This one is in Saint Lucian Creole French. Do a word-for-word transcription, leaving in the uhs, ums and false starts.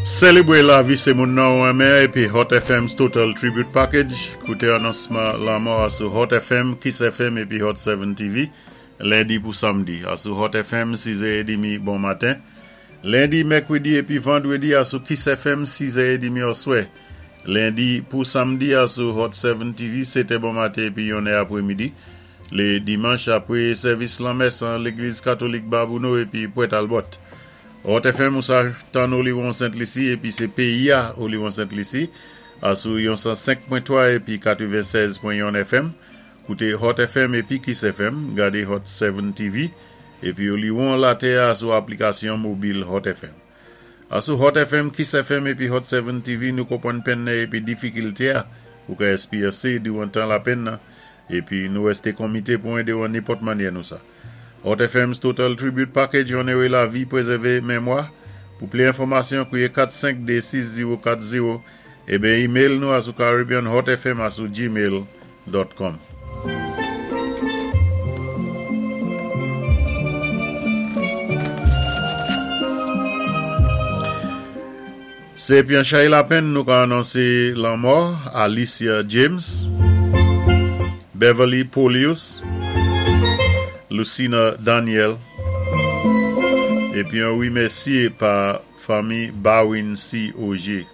Sélébwé lavi sé moun nan ou renmen épi Hot F M's Total Tribute Package. Kouté anonsman lanmò a sou Hot F M, Kiss F M épi Hot sept T V, lendi pou samdi. A sou Hot F M, sis è edmi bon maten. Lendi, mèkwédi épi vandwédi a sou Kiss F M, sis è edmi oswè. Lendi pou samdi a sou Hot sept T V, sèt è bon maten épi yon è apwémidi. Lé dimanch apwé sèvis lanmès an légliz katolik Babouno épi Pwèt Albòt. Hot F M ou sa tann Oliwon Sent Lisi épi sé péyi a Oliwon Sent Lisi a sou yon san senk pwen twa épi katwennsèz pwen yon F M. Kouté Hot F M épi Kiss F M, gadé Hot sept T V épi Oliwon latè a sou aplikasyon mobil Hot F M. A sou Hot F M, Kiss F M épi Hot sept T V, nou konpwann penn nan épi difikilte a ou ka éspeyansé diwan tan lapenn nan épi nou wèsté konmité pou édé ou an nenpòt mannyè nou sa. Hot F M's Total Tribute Package, onoré lavi, pwézèvé mémwa. Pou plis enfòmasyon, kwiyé kat senk de sis zewo kat zewo ében email nou a sou caribbeanhotfm a sou gmail pwen com. Sé épi an chay lapenn nou ka anonsé lanmò Alicia James, Beverly Polius, Lucina Daniel, épi an wimèsyé pa fanmi Bawin C. Ogier.